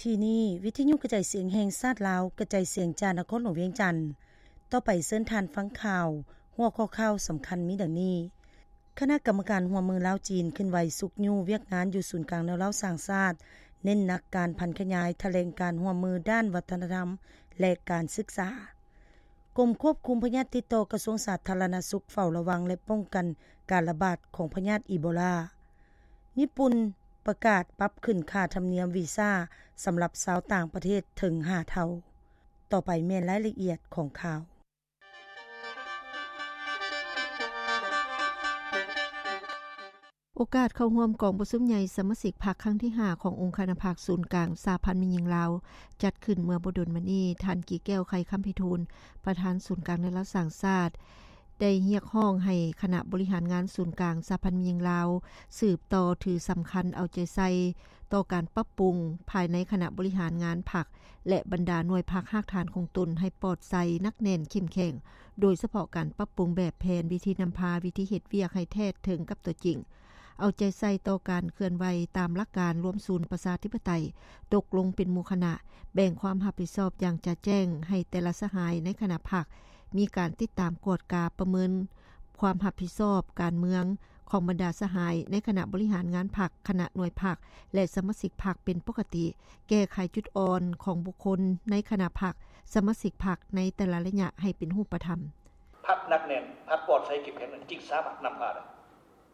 ທີ່ນີ້ ວິທະຍຸກະຈາຍສຽງແຫ່ງຊາດລາວ ກະຈາຍສຽງຈາກນະຄອນຫຼວງວຽງຈັນ. ຕໍ່ໄປເຊີນທ່ານຟັງຂ່າວ. ຫົວຂໍ້ຂ່າວສຳຄັນມີດັ່ງນີ້: ຄະນະກຳມະການຮ່ວມມືລາວ-ຈີນ ເຄື່ອນໄຫວຊຸກຍູ້ວຽກງານຢູ່ສູນກາງແນວລາວສ້າງຊາດ, ເນັ້ນໜັກການຜັນຂະຫຍາຍຖະແຫຼງການຮ່ວມມືດ້ານວັດທະນະທຳ ແລະ ການສຶກສາ. ກົມຄວບຄຸມພະຍາດຕິດຕໍ່ ກະຊວງສາທາລະນະສຸກ ເຝົ້າລະວັງ ແລະ ປ້ອງກັນການລະບາດຂອງພະຍາດອີໂບລາ. ຍີ່ປຸ່ນປະກາດປັບຂຶ້ນຄ່າທຳນຽມວີຊາສຳລັບຊາວຕ່າງປະເທດເຖິງຫ້າເທົ່າ. ຕໍ່ໄປແມ່ນລາຍລະອຽດຂອງຂ່າວ. ໂອກາດເຂົ້າຮ່ວມກອງປະຊຸມໃຫຍ່ສະມາຊິກພັກຄັ້ງທີຫ້າ ຂອງອົງຄະນະພັກສູນກາງສະຫະພັນແມ່ຍິງລາວ ຈັດຂຶ້ນເມື່ອບໍ່ດົນມານີ້, ທ່ານ ກີແກ້ວ ໄຂຄຳພິທູນ ປະທານສູນກາງແນວລາວສ້າງຊາດ ໄດ້ຮຽກຮ້ອງໃຫ້ຄະນະບໍລິຫານງານສູນກາງສະຫະພັນແມ່ຍິງລາວ ສືບຕໍ່ຖືສຳຄັນເອົາໃຈໃສ່ຕໍ່ການປັບປຸງພາຍໃນຄະນະບໍລິຫານງານພັກ ແລະ ບັນດາໜ່ວຍພັກຮາກຖານຂອງຕົນໃຫ້ປອດໃສ, ໜັກແໜ້ນ, ເຂັ້ມແຂງ, ໂດຍສະເພາະການປັບປຸງແບບແຜນ, ວິທີນຳພາ, ວິທີເຮັດວຽກໃຫ້ແທດເຖິງກັບຕົວຈິງ, ເອົາໃຈໃສ່ຕໍ່ການເຄື່ອນໄຫວຕາມຫຼັກການລວມສູນປະຊາທິປະໄຕ, ຕົກລົງເປັນໝູ່ຄະນະ, ແບ່ງຄວາມຮັບຜິດຊອບຢ່າງຈະແຈ້ງໃຫ້ແຕ່ລະສະຫາຍໃນຄະນະພັກ ມີການຕິດຕາມກວດກາປະເມີນຄວາມຮັບຜິດຊອບການເມືອງຂອງບັນດາສະຫາຍໃນຄະນະບໍລິຫານງານພັກ, ຄະນະໜ່ວຍພັກ ແລະ ສະມາຊິກພັກເປັນປົກກະຕິ, ແກ້ໄຂຈຸດອ່ອນຂອງບຸກຄົນໃນຄະນະພັກ, ສະມາຊິກພັກໃນແຕ່ລະໄລຍະໃຫ້ເປັນຮູບປະທຳ. ພັກໜັກແໜ້ນ, ພັກປອດໃສເຂັ້ມແຂງນັ້ນ ຈຶ່ງສາມາດນຳພາໄດ້.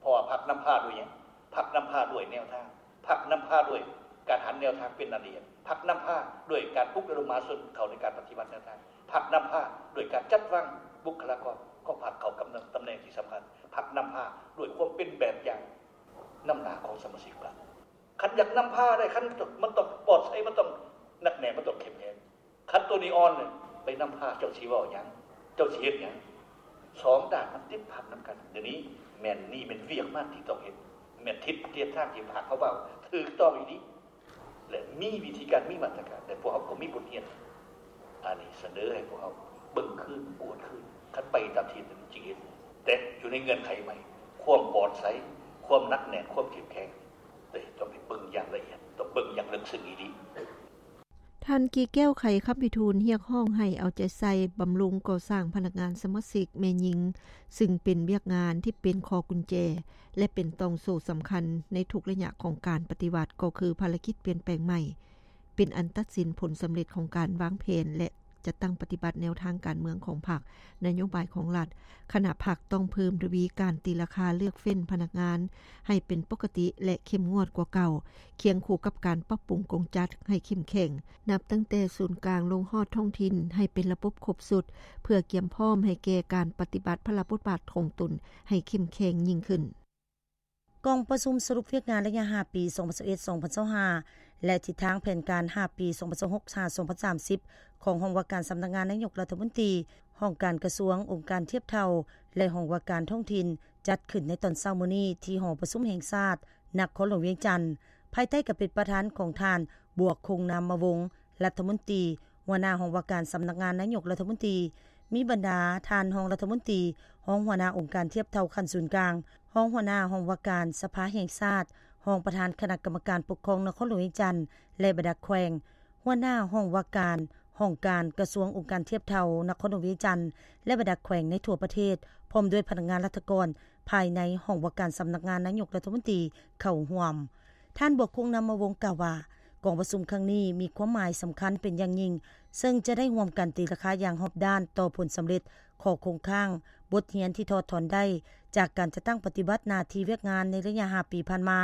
ເພາະວ່າພັກນຳພາດ້ວຍຫຍັງ? ພັກນຳພາດ້ວຍແນວທາງ, ພັກນຳພາດ້ວຍການຫັນແນວທາງເປັນອັນດຽວ, ພັກນຳພາດ້ວຍການປຸກລະດົມມະຫາຊົນເຂົ້າໃນການປະຕິບັດແນວທາງ, ພັກນຳພາດ້ວຍການຈັດວາງບຸກຄະລາກອນຂອງພັກເຂົ້າກຳ ຕຳແໜ່ງທີ່ສຳຄັນ, ພັກນຳພາດ້ວຍຄວາມເປັນແບບຢ່າງນຳໜ້າຂອງສະມາຊິກພັກ. ຄັນຢາກນຳພາໄດ້, ຄັນມັນຕ້ອງປອດໃສ, ມັນຕ້ອງໜັກແໜ້ນ, ມັນຕ້ອງເຂັ້ມແຂງ. ຄັນໂຕນີ້ອ່ອນເລີຍ, ໄປນຳພາເຈົ້າຊິເວົ້າຫຍັງ? ເຈົ້າຊິເຮັດຫຍັງ? ສອງດ້ານມັນຕິດພັນນຳກັນ. ດຽວນີ້ແມ່ນ, ນີ້ແມ່ນວຽກງານທີ່ຕ້ອງເຮັດ, ແມ່ນທິດທາງທີ່ພາກເຂົາເວົ້າຖືກຕ້ອງອີ່ຫຼີ ແລະ ມີວິທີການ, ມີມາດຕະການ, ແລະ ພວກເຮົາກໍມີບົດຮຽນ. ອັນນີ້ສະເໜີໃຫ້ພວກເຮົາເບິ່ງຄືນ, ກວດຄືນ, ຄັນໄປຕາມທີ່ນັ້ນຈິງເຫັນ, ແຕ່ຢູ່ໃນເງື່ອນໄຂໃໝ່, ຄວາມປອດໃສ, ຄວາມໜັກແໜ້ນ, ຄວາມເຂັ້ມແຂງ, ແຕ່ຕ້ອງໄປເບິ່ງຢ່າງລະອຽດ, ຕ້ອງເບິ່ງຢ່າງເລິກເຊິ່ງອີ່ຫຼີ. ທ່ານ ກີແກ້ວ ໄຂຄຳພິທູນ ຮຽກຮ້ອງໃຫ້ເອົາໃຈໃສ່ບຳລຸງກໍ່ສ້າງພະນັກງານສະມາຊິກແມ່ຍິງ, ຊຶ່ງເປັນວຽກງານທີ່ເປັນຂໍ້ກຸນແຈ ແລະ ເປັນຕ່ອງໂສ້ສຳຄັນໃນທຸກໄລຍະຂອງການປະຕິວັດ, ກໍຄືພາລະກິດປ່ຽນແປງໃໝ່ ເປັນອັນຕັດສິນຜົນສຳເລັດຂອງການວາງແຜນ ແລະ ຈັດຕັ້ງປະຕິບັດແນວທາງການເມືອງຂອງພັກ, ນະໂຍບາຍຂອງລັດ. ຄະນະພັກຕ້ອງເພີ່ມທະວີການຕີລາຄາເລືອກເຟ້ນພະນັກງານໃຫ້ເປັນປົກກະຕິ ແລະ ເຂັ້ມງວດກວ່າເກົ່າ, ຄຽງຄູ່ກັບການປັບປຸງກົງຈັດໃຫ້ເຂັ້ມແຂງ, ນັບຕັ້ງແຕ່ສູນກາງລົງຮອດທ້ອງຖິ່ນໃຫ້ເປັນລະບົບຄົບຊຸດ, ເພື່ອກຽມພ້ອມໃຫ້ແກ່ການປະຕິບັດພາລະບົດບາດຂອງຕົນໃຫ້ເຂັ້ມແຂງຍິ່ງຂຶ້ນ. ກອງປະຊຸມສະຫຼຸບວຽກງານໄລຍະຫ້າປີ ສອງພັນຊາວເອັດ ສອງພັນຊາວຫ້າ ແລະ ທິດທາງແຜນການຫ້າປີ ສອງພັນຊາວຫົກ ຫາ ສອງພັນສາມສິບ ຂອງຫ້ອງວ່າການສຳນັກງານນາຍົກລັດຖະມົນຕີ, ຫ້ອງການກະຊວງ, ອົງການທຽບເທົ່າ ແລະ ຫ້ອງວ່າການທ້ອງຖິ່ນ ຈັດຂຶ້ນໃນຕອນເຊົ້າມື້ນີ້ ທີ່ຫໍປະຊຸມແຫ່ງຊາດ ນະຄອນຫຼວງວຽງຈັນ, ພາຍໃຕ້ການເປັນປະທານຂອງທ່ານ ບວກ ຄົງນາມມະວົງ ລັດຖະມົນຕີ, ຫົວໜ້າຫ້ອງວ່າການສຳນັກງານນາຍົກລັດຖະມົນຕີ, ມີບັນດາທ່ານຮອງລັດຖະມົນຕີ, ຮອງຫົວໜ້າອົງການທຽບເທົ່າຂັ້ນສູນກາງ, ຮອງຫົວໜ້າຫ້ອງວ່າການສະພາແຫ່ງຊາດ, ຮອງປະທານຄະນະກຳມະການປົກຄອງນະຄອນຫຼວງວຽງຈັນ ແລະ ບັນດາແຂວງ, ຫົວໜ້າຫ້ອງວ່າການຫ້ອງການກະຊວງອົງການທຽບເທົ່ານະຄອນຫຼວງວຽງຈັນ ແລະ ບັນດາແຂວງໃນທົ່ວປະເທດ, ພ້ອມດ້ວຍພະນັກງານລັດຖະກອນພາຍໃນຫ້ອງວ່າການສຳນັກງານນາຍົກລັດຖະມົນຕີເຂົ້າຮ່ວມ. ທ່ານ ບວກ ຄົງນາມມະວົງ ກ່າວວ່າ ກອງປະຊຸມຄັ້ງນີ້ມີຄວາມໝາຍສຳຄັນເປັນຢ່າງຍິ່ງ, ເຊິ່ງຈະໄດ້ຮ່ວມກັນຕີລາຄາຢ່າງຮອບດ້ານຕໍ່ຜົນສຳເລັດ, ຂໍ້ຄົງຄ້າງ, ບົດຮຽນທີ່ຖອດຖອນໄດ້ຈາກການຈັດຕັ້ງປະຕິບັດໜ້າທີ່ວຽກງານໃນໄລຍະຫ້າປີຜ່ານມາ,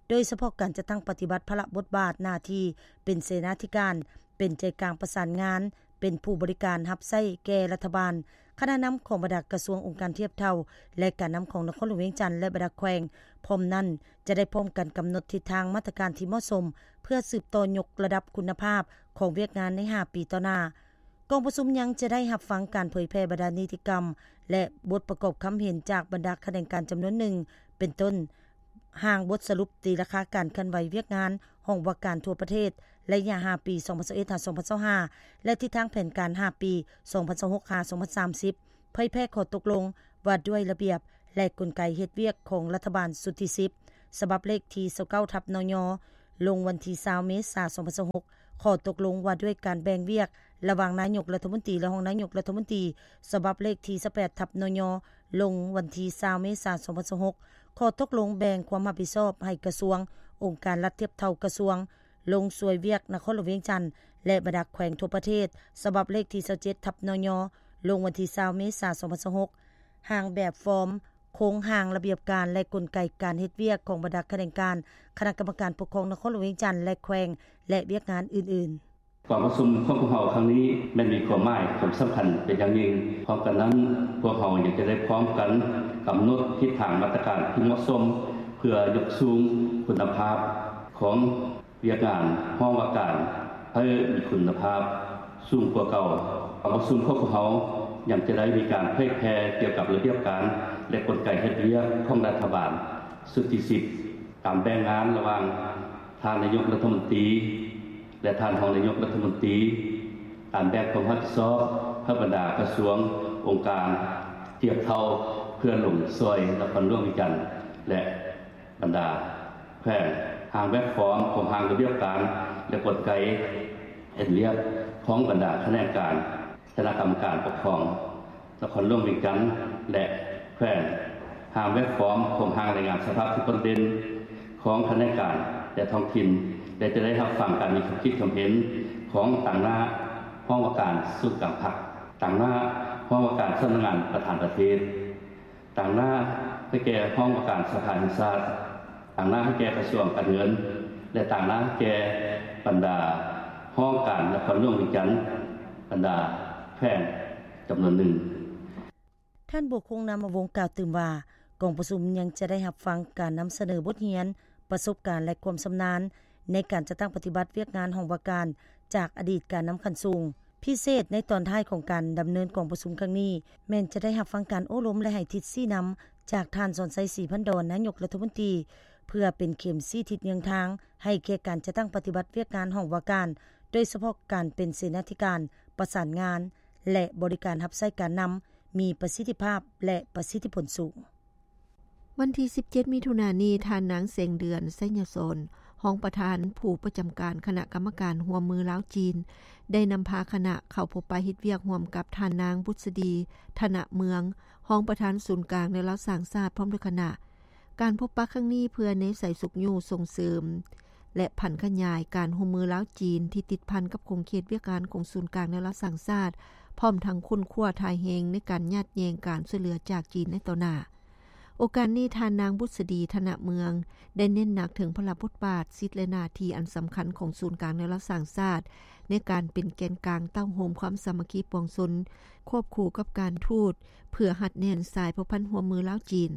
ໂດຍສະເພາະການຈັດຕັ້ງປະຕິບັດພາລະບົດບາດໜ້າທີ່ເປັນເສນາທິການ, ເປັນໃຈກາງປະສານງານ, ເປັນຜູ້ບໍລິການຮັບໃຊ້ແກ່ລັດຖະບານ, ຄະນະນຳຂອງບັນດາກະຊວງ, ອົງການທຽບເທົ່າ ແລະ ການນຳຂອງນະຄອນຫຼວງວຽງຈັນ ແລະ ບັນດາແຂວງ. ພ້ອມນັ້ນ, ຈະໄດ້ພ້ອມກັນກຳນົດທິດທາງມາດຕະການທີ່ເໝາະສົມ ເພື່ອສືບຕໍ່ຍົກລະດັບຄຸນນະພາບຂອງວຽກງານໃນຫ້າປີຕໍ່ໜ້າ. ກອງປະຊຸມຍັງຈະໄດ້ຮັບຟັງການເຜີຍແຜ່ບັນດານິຕິກຳ ແລະ ບົດປະກອບຄຳເຫັນຈາກບັນດາຂະແໜງການຈຳນວນໜຶ່ງ, ເປັນຕົ້ນ ຮ່າງບົດສະຫຼຸບຕີລາຄາການເຄື່ອນໄຫວວຽກງານຫ້ອງວ່າການທົ່ວປະເທດ ໄລຍະຫ້າປີ ສອງພັນຊາວເອັດ ຫາ ສອງພັນຊາວຫ້າ ແລະ ທິດທາງແຜນການຫ້າປີ ສອງພັນຊາວຫົກ ຫາ ສອງພັນສາມສິບ, ເຜີຍແຜ່ຂໍ້ຕົກລົງວ່າດ້ວຍລະບຽບ ແລະ ກົນໄກເຮັດວຽກຂອງລັດຖະບານຊຸດທີສິບ ສະບັບເລກທີຊາວເກົ້າ ທັບ ນຍ, ລົງວັນທີຊາວ ເມສາ ສອງພັນຊາວຫົກ, ຂໍ້ຕົກລົງວ່າດ້ວຍການແບ່ງວຽກລະຫວ່າງນາຍົກລັດຖະມົນຕີ ແລະ ຮອງນາຍົກລັດຖະມົນຕີ ສະບັບເລກທີຊາວແປດ ທັບ ນຍ ລົງວັນທີຊາວ ເມສາ ສອງພັນຊາວຫົກ. ຂໍ້ຕົກລົງແບ່ງຄວາມຮັບຜິດຊອບໃຫ້ກະຊວງ, ອົງການລັດທຽບເທົ່າກະຊວງ ລົງຊ່ວຍວຽກນະຄອນຫຼວງວຽງຈັນ ແລະ ບັນດາແຂວງທົ່ວປະເທດ ສະບັບເລກທີຊາວເຈັດ ທັບ ນຍ ລົງວັນທີຊາວ ເມສາ ສອງພັນຊາວຫົກ. ຮ່າງແບບຟອມ ໂຄງຮ່າງລະບຽບການ ແລະ ກົນໄກການເຮັດວຽກຂອງບັນດາຂະແໜງການ ຄະນະກຳມະການປົກຄອງນະຄອນຫຼວງວຽງຈັນ ແລະ ແຂວງ ແລະ ວຽກງານອື່ນໆ. ກອງປະຊຸມຂອງພວກເຮົາຄັ້ງນີ້ແມ່ນມີຄວາມໝາຍຄວາມສຳຄັນເປັນຢ່າງຍິ່ງ. ພ້ອມກັນນັ້ນ, ພວກເຮົາຍັງຈະໄດ້ພ້ອມກັນກຳນົດທິດທາງມາດຕະການທີ່ເໝາະສົມ ເພື່ອຍົກສູງຄຸນນະພາບຂອງວຽກງານຫ້ອງວ່າການໃຫ້ມີຄຸນນະພາບສູງກວ່າເກົ່າ. ກອງປະຊຸມຂອງພວກເຮົາຍັງຈະໄດ້ມີການເຜີຍແຜ່ກ່ຽວກັບລະບຽບການ ແລະ ກົນໄກເຮັດວຽກຂອງລັດຖະບານຊຸດທີສິບ, ການແບ່ງງານລະຫວ່າງທ່ານນາຍົກລັດຖະມົນຕີ ແລະ ທ່ານຮອງນາຍົກລັດຖະມົນຕີ, ການແບ່ງຄວາມຮັບຜິດຊອບໃຫ້ບັນດາກະຊວງ, ອົງການທຽບເທົ່າ ເພື່ອລົງຊ່ອຍນະຄອນຫຼວງວຽງຈັນ ແລະ ບັນດາແຂວງ. ຮ່າງແບບຟອມຂອງຮ່າງລະບຽບການ ແລະ ກົນໄກເຮັດວຽກຂອງບັນດາຂະແໜງການ ຄະນະກຳມະການປົກຄອງນະຄອນຫຼວງວຽງຈັນ ແລະ ແຂວງ. ຮ່າງແບບຟອມຂອງຮ່າງລາຍງານສະພາບທີ່ໂດດເດັ່ນຂອງຂະແໜງການ ແລະ ທ້ອງຖິ່ນ ແລະ ຈະໄດ້ຮັບຟັງການມີຄວາມຄິດຄວາມເຫັນຂອງຕາງໜ້າຫ້ອງວ່າການສູນກາງພັກ, ຕາງໜ້າຫ້ອງວ່າການສຳນັກງານປະທານປະເທດ, ຕາງໜ້າໃຫ້ແກ່ຫ້ອງວ່າການສະພາແຫ່ງຊາດ, ຕາງໜ້າໃຫ້ແກ່ກະຊວງການເງິນ ແລະ ຕາງໜ້າໃຫ້ແກ່ບັນດາຫ້ອງການນະຄອນຫຼວງວຽງຈັນ, ບັນດາແຂວງຈຳນວນໜຶ່ງ. ທ່ານ ບົວຄົງ ນາມະວົງ ກ່າວຕື່ມວ່າ ກອງປະຊຸມຍັງຈະໄດ້ຮັບຟັງການນຳສະເໜີບົດຮຽນ, ປະສົບການ ແລະ ຄວາມຊຳນານໃນການຈັດຕັ້ງປະຕິບັດວຽກງານຫ້ອງວ່າການຈາກອະດີດການນຳຂັ້ນສູງ. ພິເສດໃນຕອນທ້າຍຂອງການດຳເນີນກອງປະຊຸມຄັ້ງນີ້ ແມ່ນຈະໄດ້ຮັບຟັງການໂອ້ລົມ ແລະ ໃຫ້ທິດຊີ້ນຳຈາກທ່ານ ສອນໄຊ ສີພັນດອນ ນາຍົກລັດຖະມົນຕີ ເພື່ອເປັນເຂັມຊີ້ທິດເຍືອງທາງໃຫ້ແກ່ການຈັດຕັ້ງປະຕິບັດວຽກງານຫ້ອງວ່າການ, ໂດຍສະເພາະການເປັນເສນາທິການ, ປະສານງານ ແລະ ບໍລິການຮັບໃຊ້ການນຳ ມີປະສິດທິພາບ ແລະ ປະສິດທິຜົນສູງ. ວັນທີສິບເຈັດ ມິຖຸນານີ້, ທ່ານນາງ ແສງເດືອນ ໄຊຍະສອນ ຮອງປະທານຜູ້ປະຈຳການຄະນະກຳມະການຮ່ວມມືລາວ-ຈີນ ໄດ້ນຳພາຄະນະເຂົ້າພົບປະເຮັດວຽກຮ່ວມກັບທ່ານນາງ ບຸດສະດີ ທະນະເມືອງ ຮອງປະທານສູນກາງແນວລາວສ້າງຊາດ ພ້ອມດ້ວຍຄະນະ. ການພົບປະຄັ້ງນີ້ເພື່ອແນໃສ່ຊຸກຍູ້ສົ່ງເສີມ ແລະ ຜັນຂະຫຍາຍການຮ່ວມມືລາວ-ຈີນ ທີ່ຕິດພັນກັບຂົງເຂດວຽກງານຂອງສູນກາງແນວລາວສ້າງຊາດ, ພ້ອມທັງຄົ້ນຄວ້າທ່າແຮງໃນການຍາດແຍ່ງການຊ່ວຍເຫຼືອຈາກຈີນໃນຕໍ່ໜ້າ. ໂອກາດນີ້, ທ່ານນາງ ບຸດສະດີ ທະນະເມືອງ ໄດ້ເນັ້ນໜັກເຖິງພາລະບົດບາດ, ສິດ ແລະ ໜ້າທີ່ອັນສຳຄັນຂອງສູນກາງແນວລາວສ້າງຊາດ ໃນການເປັນແກນກາງເຕົ້າໂຮມຄວາມສາມັກຄີປວງຊົນ, ຄວບຄູ່ກັບການທູດ ເພື່ອຮັດແໜ້ນສາຍພົວພັນຮ່ວມມືລາວ-ຈີນ.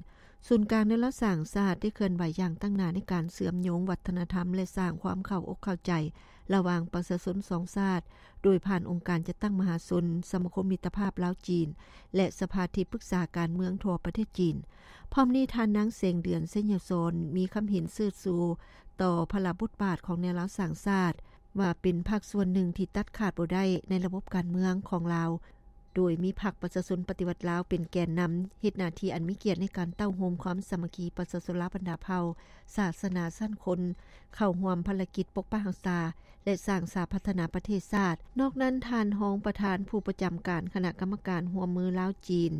ສູນກາງແນວລາວສ້າງຊາດໄດ້ເຄື່ອນໄຫວຢ່າງຕັ້ງໜ້າໃນການເຊື່ອມໂຍງວັດທະນະທຳ ແລະ ສ້າງຄວາມເຂົ້າອົກເຂົ້າໃຈລະຫວ່າງປະຊາຊົນສອງຊາດ ໂດຍຜ່ານອົງການຈັດຕັ້ງມະຫາຊົນ, ສະມາຄົມມິດຕະພາບລາວ-ຈີນ ແລະ ສະພາທີ່ປຶກສາການເມືອງທົ່ວປະເທດຈີນ. ພ້ອມນີ້, ທ່ານນາງ ແສງເດືອນ ໄຊຍະສອນ ມີຄຳເຫັນເຊີດຊູຕໍ່ພາລະບົດບາດຂອງແນວລາວສ້າງຊາດ ວ່າເປັນພາກສ່ວນໜຶ່ງທີ່ຕັດຂາດບໍ່ໄດ້ໃນລະບົບການເມືອງຂອງລາວ, ໂດຍມີພັກປະຊາຊົນປະຕິວັດລາວເປັນແກນນຳ, ເຮັດໜ້າທີ່ອັນມີກຽດໃນການເຕົ້າໂຮມຄວາມສາມັກຄີປະຊາຊົນລາວບັນດາເຜົ່າ, ສາສະໜາ, ຊັ້ນຄົນ ເຂົ້າຮ່ວມພາລະກິດປົກປັກຮັກສາ ແລະ ສ້າງສາພັດທະນາປະເທດຊາດ. ນອກນັ້ນ, ທ່ານຮອງປະທານຜູ້ປະຈຳການຄະນະກຳມະການຮ່ວມມືລາວ-ຈີນ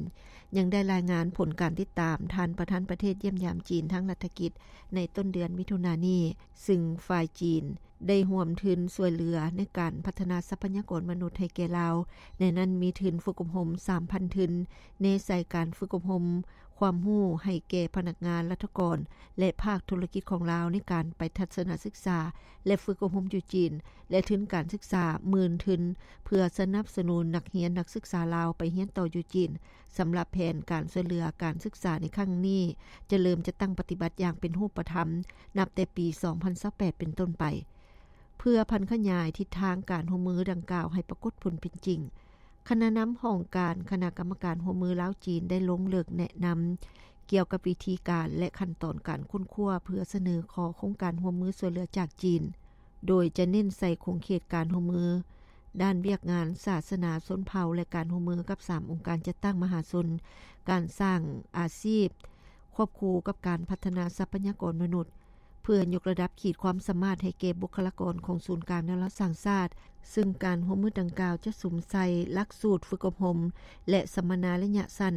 ຍັງໄດ້ລາຍງານຜົນການຕິດຕາມທ່ານປະທານປະເທດຢ້ຽມຢາມຈີນທາງລັດຖະກິດໃນຕົ້ນເດືອນມິຖຸນານີ້, ຊຶ່ງຝ່າຍຈີນ ໄດ້ຮ່ວມທຶນຊ່ວຍເຫຼືອໃນການພັດທະນາຊັບພະຍາກອນມະນຸດໃຫ້ແກ່ລາວ, ໃນນັ້ນມີທຶນຝຶກອົບຮົມສາມພັນທຶນ, ແນໃສ່ການຝຶກອົບຮົມຄວາມຮູ້ໃຫ້ແກ່ພະນັກງານລັດຖະກອນ ແລະ ພາກທຸລະກິດຂອງລາວໃນການໄປທັດສະນະສຶກສາ ແລະ ຝຶກອົບຮົມຢູ່ຈີນ ແລະ ທຶນການສຶກສາໝື່ນທຶນ ເພື່ອສະໜັບສະໜູນນັກຮຽນນັກສຶກສາລາວໄປຮຽນຕໍ່ຢູ່ຈີນ. ສຳລັບແຜນການຊ່ວຍເຫຼືອການສຶກສາໃນຄັ້ງນີ້ ຈະເລີ່ມຈັດຕັ້ງປະຕິບັດຢ່າງເປັນຮູບປະທຳ ນັບແຕ່ປີສອງພັນຊາວແປດເປັນຕົ້ນໄປ. ເພື່ອຜັນຂະຫຍາຍທິດທາງການຮ່ວມມືດັ່ງກ່າວໃຫ້ປາກົດຜົນເປັນຈິງ, ຄະນະນຳຫ້ອງການຄະນະກຳມະການຮ່ວມມືລາວ-ຈີນ ໄດ້ລົງເລິກແນະນຳກ່ຽວກັບວິທີການ ແລະ ຂັ້ນຕອນການຄົ້ນຄວ້າ ເພື່ອສະເໜີຂໍໂຄງການຮ່ວມມືຊ່ວຍເຫຼືອຈາກຈີນ, ໂດຍຈະເນັ້ນໃສ່ຂົງເຂດການຮ່ວມມືດ້ານວຽກງານສາສະໜາຊົນເຜົ່າ ແລະ ການຮ່ວມມືກັບສາມອົງການຈັດຕັ້ງມະຫາຊົນ, ການສ້າງອາຊີບ ຄວບຄູ່ກັບການພັດທະນາຊັບພະຍາກອນມະນຸດ, ເພື່ອຍົກລະດັບຂີດຄວາມສາມາດໃຫ້ແກ່ບຸກຄະລາກອນຂອງສູນກາງແນວລາວສ້າງຊາດ, ເຊິ່ງການຮ່ວມມືດັ່ງກ່າວຈະສຸມໃສ່ຫຼັກສູດຝຶກອົບຮົມ ແລະ ສຳມະນາໄລຍະສັ້ນ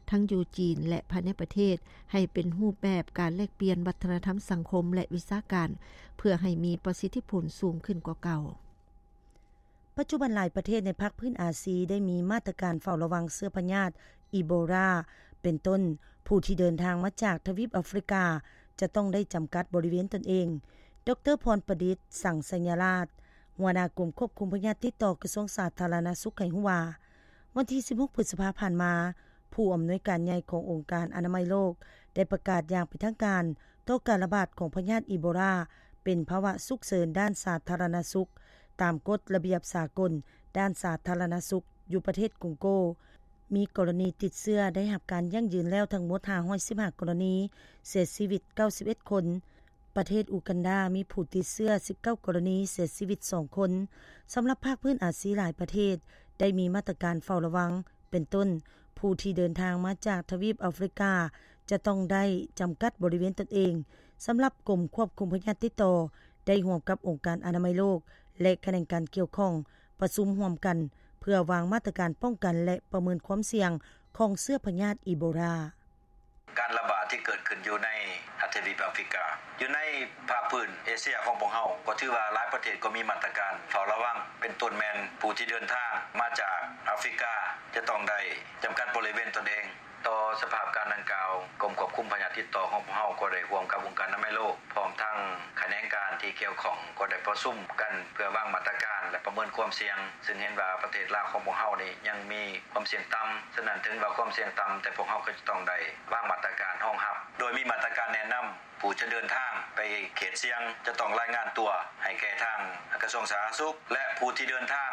ທັງຢູ່ຈີນ ແລະ ພາຍໃນປະເທດ, ໃຫ້ເປັນຮູບແບບການແລກປ່ຽນວັດທະນະທຳສັງຄົມ ແລະ ວິຊາການ ເພື່ອໃຫ້ມີປະສິດທິຜົນສູງຂຶ້ນກວ່າເກົ່າ. ປັດຈຸບັນຫຼາຍປະເທດໃນພາກພື້ນອາຊີໄດ້ມີມາດຕະການເຝົ້າລະວັງເຊື້ອພະຍາດອີໂບລາ, ເປັນຕົ້ນ ຜູ້ທີ່ເດີນທາງມາຈາກທະວີບອາຟຣິກາຈະຕ້ອງໄດ້ຈຳກັດບໍລິເວນຕົນເອງ. ດຣ. ພອນປະດິດ ສັງໄຊຍະລາດ, ຫົວໜ້າກົມຄວບຄຸມພະຍາດຕິດຕໍ່ກະຊວງສາທາລະນະສຸກ ໃຫ້ຮູ້ວ່າ ວັນທີສິບຫົກ ພຶດສະພາຜ່ານມາ, ຜູ້ອຳນວຍການໃຫຍ່ຂອງອົງການອະນາໄມໂລກ ໄດ້ປະກາດຢ່າງເປັນທາງການຕໍ່ການລະບາດຂອງພະຍາດອີໂບລາ ເປັນພາວະສຸກເສີນດ້ານສາທາລະນະສຸກ ຕາມກົດລະບຽບສາກົນດ້ານສາທາລະນະສຸກ ຢູ່ປະເທດກົງໂກ ມີກໍລະນີຕິດເຊື້ອໄດ້ຮັບການຢັ້ງຢືນແລ້ວທັງໝົດ ຫ້າຮ້ອຍສິບຫ້າ ກໍລະນີ, ເສຍຊີວິດ ເກົ້າສິບເອັດ ຄົນ. ປະເທດອູກັນດາ ມີຜູ້ຕິດເຊື້ອ ສິບເກົ້າ ກໍລະນີ, ເສຍຊີວິດ ສອງ ຄົນ. ສຳລັບພາກພື້ນອາຊີຫຼາຍປະເທດ ໄດ້ມີມາດຕະການເຝົ້າລະວັງ ເປັນຕົ້ນ ຜູ້ທີ່ເດີນທາງມາຈາກທະວີບອາຟຣິກາ ຈະຕ້ອງໄດ້ຈຳກັດບໍລິເວນຕົນເອງ. ສຳລັບກົມຄວບຄຸມພະຍາດຕິດຕໍ່ ໄດ້ຮ່ວມກັບອົງການອະນາໄມໂລກ ແລະ ຂະແໜງການກ່ຽວຂ້ອງ ປະຊຸມຮ່ວມກັນ ເພື່ອວາງມາດຕະການປ້ອງກັນ ແລະ ປະເມີນຄວາມສ່ຽງຂອງເຊື້ອພະຍາດອີໂບລາ. ການລະບາດທີ່ເກີດຂຶ້ນຢູ່ໃນທະວີບອາຟຣິກາ, ຢູ່ໃນພາກພື້ນເອເຊຍຂອງພວກເຮົາ ກໍຖືວ່າຫຼາຍປະເທດກໍມີມາດຕະການເຝົ້າລະວັງ, ເປັນຕົ້ນແມ່ນຜູ້ທີ່ເດີນທາງມາຈາກອາຟຣິກາ ຈະຕ້ອງໄດ້ຈຳກັດບໍລິເວນຕົນເອງ. ຕໍ່ສະພາບການດັ່ງກ່າວ, ກົມຄວບຄຸມພະຍາດຕິດຕໍ່ຂອງພວກເຮົາກໍໄດ້ຮ່ວມກັບອົງການອະນາໄມໂລກ ພ້ອມທັງຂະແໜງການທີ່ກ່ຽວຂ້ອງ ກໍໄດ້ປະຊຸມກັນເພື່ອວາງມາດຕະການ ແລະ ປະເມີນຄວາມສ່ຽງ, ຊຶ່ງເຫັນວ່າປະເທດລາວຂອງພວກເຮົານີ້ຍັງມີຄວາມສ່ຽງຕ່ຳ. ສະນັ້ນ, ເຖິງວ່າຄວາມສ່ຽງຕ່ຳ, ແຕ່ພວກເຮົາກໍຈະຕ້ອງໄດ້ວາງມາດຕະການຮອງຮັບ, ໂດຍມີມາດຕະການແນະນຳ ຜູ້ຈະເດີນທາງໄປເຂດສ່ຽງ ຈະຕ້ອງລາຍງານຕົວໃຫ້ແກ່ທາງກະຊວງສາທາລະນະສຸກ ແລະ ຜູ້ທີ່ເດີນທາງ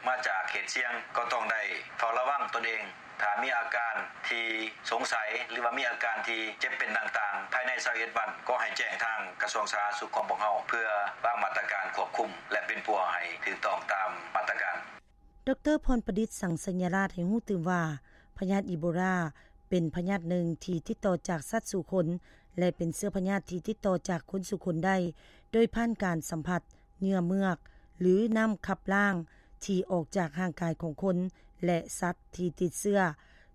ມາຈາກເຂດສ່ຽງ ກໍຕ້ອງໄດ້ເຝົ້າລະວັງຕົນເອງ. ຖ້າມີອາການທີ່ສົງໄສ ຫຼືວ່າມີອາການທີ່ເຈັບເປັນຕ່າງໆ ພາຍໃນຊາວເອັດວັນ ກໍໃຫ້ແຈ້ງທາງກະຊວງສາທາລະນະສຸກຂອງພວກເຮົາ ເພື່ອວາງມາດຕະການຄວບຄຸມ ແລະ ປິ່ນປົວໃຫ້ຖືກຕ້ອງຕາມມາດຕະການ. ດຣ. ພອນປະດິດ ສັງໄຊຍະລາດ ໃຫ້ຮູ້ຕື່ມວ່າ ພະຍາດອີໂບລາ ເປັນພະຍາດໜຶ່ງທີ່ຕິດຕໍ່ຈາກສັດສູ່ຄົນ ແລະ ເປັນເຊື້ອພະຍາດທີ່ຕິດຕໍ່ຈາກຄົນສູ່ຄົນໄດ້ ໂດຍຜ່ານການສຳຜັດເຫຍື່ອເມືອກ ຫຼື ນ້ຳຂັບລ້າງທີ່ອອກຈາກຮ່າງກາຍຂອງຄົນ ແລະ ສັດທີ່ຕິດເຊື້ອ.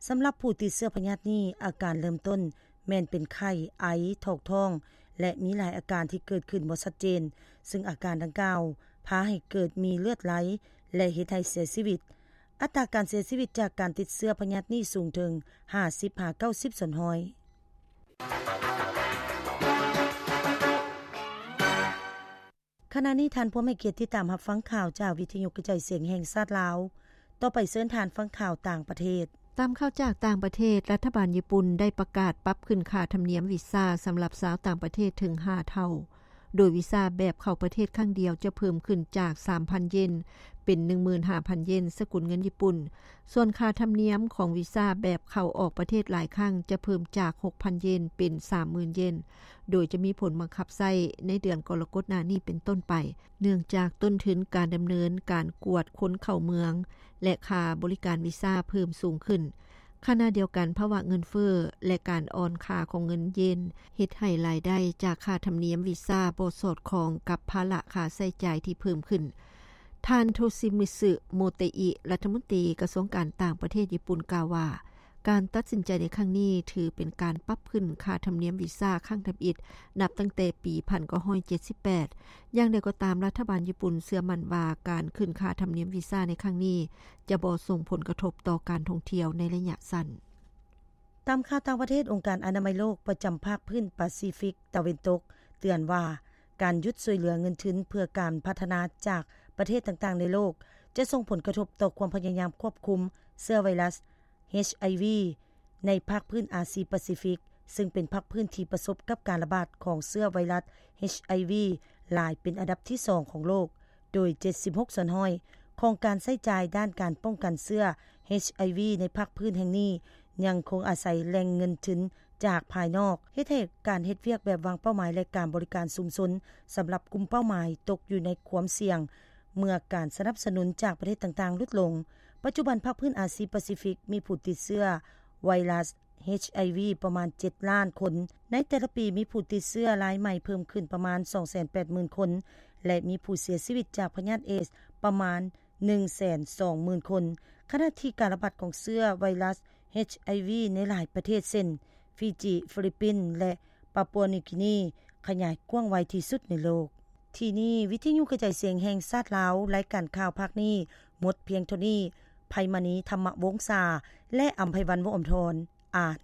ສຳລັບຜູ້ຕິດເຊື້ອພະຍາດນີ້, ອາການເລີ່ມຕົ້ນແມ່ນເປັນໄຂ້, ໄອ, ຖອກທ້ອງ ແລະ ມີຫຼາຍອາການທີ່ເກີດຂຶ້ນບໍ່ຊັດເຈນ, ຊຶ່ງອາການດັ່ງກ່າວພາໃຫ້ເກີດມີເລືອດໄຫຼ ແລະ ເຮັດໃຫ້ເສຍຊີວິດ. ອັດຕາການເສຍຊີວິດຈາກການຕິດເຊື້ອພະຍາດນີ້ສູງເຖິງຫ້າສິບຫາເກົ້າສິບສ່ວນຮ້ອຍ. ຂະນະນີ້ທ່ານພວມໃຫ້ກຽດຕິດຕາມຮັບຟັງຂ່າວຈາກວິທະຍຸກະຈາຍສຽງແຫ່ງຊາດລາວ. ຕໍ່ໄປເຊີນທ່ານຟັງຂ່າວຕ່າງປະເທດ. ຕາມຂ່າວຈາກຕ່າງປະເທດ, ລັດຖະບານຍີ່ປຸ່ນໄດ້ປະກາດປັບຂຶ້ນຄ່າທຳນຽມວີຊາສຳລັບຊາວຕ່າງປະເທດເຖິງຫ້າເທົ່າ, ໂດຍວີຊາແບບເຂົ້າປະເທດຄັ້ງດຽວຈະເພີ່ມຂຶ້ນຈາກສາມພັນເຢນ ເປັນໜຶ່ງໝື່ນຫ້າພັນເຢນສະກຸນເງິນຍີ່ປຸ່ນ. ສ່ວນຄ່າທຳນຽມຂອງວີຊາແບບເຂົ້າອອກປະເທດຫຼາຍຄັ້ງຈະເພີ່ມຈາກຫົກພັນເຢນເປັນສາມໝື່ນເຢນ, ໂດຍຈະມີຜົນບັງຄັບໃຊ້ໃນເດືອນກໍລະກົດໜ້ານີ້ເປັນຕົ້ນໄປ, ເນື່ອງຈາກຕົ້ນທຶນການດຳເນີນການກວດຄົນເຂົ້າເມືອງ ແລະ ຄ່າບໍລິການວີຊາເພີ່ມສູງຂຶ້ນ. ຂະນະດຽວກັນ, ພາວະເງິນເຟີ້ ແລະ ການອ່ອນຄ່າຂອງເງິນເຢນ ເຮັດໃຫ້ລາຍໄດ້ຈາກຄ່າທຳນຽມວີຊາບໍ່ສອດຄ່ອງກັບພາລະຄ່າໃຊ້ຈ່າຍທີ່ເພີ່ມຂຶ້ນ. ທ່ານ ໂທຊິມິດສຸ ໂມເຕອິ ລັດຖະມົນຕີກະຊວງການຕ່າງປະເທດຍີ່ປຸ່ນ ກ່າວວ່າ ການຕັດສິນໃຈໃນຄັ້ງນີ້ ຖືເປັນການປັບຂຶ້ນຄ່າທຳນຽມວີຊາຄັ້ງທຳອິດ ນັບຕັ້ງແຕ່ປີໜຶ່ງພັນເກົ້າຮ້ອຍເຈັດສິບແປດ. ຢ່າງໃດກໍຕາມ, ລັດຖະບານຍີ່ປຸ່ນເຊື່ອໝັ້ນວ່າ ການຂຶ້ນຄ່າທຳນຽມວີຊາໃນຄັ້ງນີ້ ຈະບໍ່ສົ່ງຜົນກະທົບຕໍ່ການທ່ອງທ່ຽວໃນໄລຍະສັ້ນ. ຕາມຂ່າວຕ່າງປະເທດ, ອົງການອະນາໄມໂລກປະຈຳພາກພື້ນປາຊີຟິກຕາເວັນຕົກເຕືອນວ່າ ການຢຸດຊ່ວຍເຫຼືອເງິນທຶນເພື່ອການພັດທະນາຈາກປະເທດຕ່າງໆໃນໂລກ ຈະສົ່ງຜົນກະທົບຕໍ່ຄວາມພະຍາຍາມຄວບຄຸມເຊື້ອໄວຣັສ ເອດສ໌ ໃນພາກພື້ນອາຊີປາຊີຟິກ, ຊຶ່ງເປັນພາກພື້ນທີ່ປະສົບກັບການລະບາດຂອງເຊື້ອໄວຣັສ ເອດສ໌ ຫຼາຍເປັນອັນດັບທີສອງຂອງໂລກ, ໂດຍ ເຈັດສິບຫົກສ່ວນຮ້ອຍ ຂອງການໃຊ້ຈ່າຍດ້ານການປ້ອງກັນເຊື້ອ ເອດສ໌ ໃນພາກພື້ນແຫ່ງນີ້ ຍັງຄົງອາໄສແຫຼ່ງເງິນທຶນຈາກພາຍນອກ, ເຮັດໃຫ້ການເຮັດວຽກແບບວາງເປົ້າໝາຍ ແລະ ການບໍລິການຊຸມຊົນສຳລັບກຸ່ມເປົ້າໝາຍຕົກຢູ່ໃນຄວາມສ່ຽງ ເມື່ອການສະໜັບສະໜູນຈາກປະເທດຕ່າງໆຫຼຸດລົງ. ປັດຈຸບັນພາກພື້ນອາຊີປາຊີຟິກມີຜູ້ຕິດເຊື້ອໄວຣັສ HIV ປະມານ ເຈັດລ້ານຄົນ. ໃນແຕ່ລະປີມີຜູ້ຕິດເຊື້ອລາຍໃໝ່ເພີ່ມຂຶ້ນປະມານ ສອງແສນແປດໝື່ນຄົນ ແລະ ມີຜູ້ເສຍຊີວິດຈາກພະຍາດເອດສປະມານ ໜຶ່ງແສນສອງໝື່ນຄົນ ຂະນະທີ່ການລະບາດຂອງເຊື້ອໄວຣັສ HIV ໃນຫຼາຍປະເທດເຊັ່ນ ຟີຈີ, ຟີລິບປິນ ແລະ ປາປົວນິວກີນີ ຂະຫຍາຍກວ້າງໄວທີ່ສຸດໃນໂລກ. ທີ່ນີ້ ວິທະຍຸກະຈາຍສຽງແຫ່ງຊາດລາວ ລາຍການຂ່າວພາກນີ້ໝົດພຽງເທົ່ານີ້. ໄພມະນີ ທຳມະວົງສາ ແລະ ອຳໄພວັນ ວົງອຳທອນ ອ່ານ.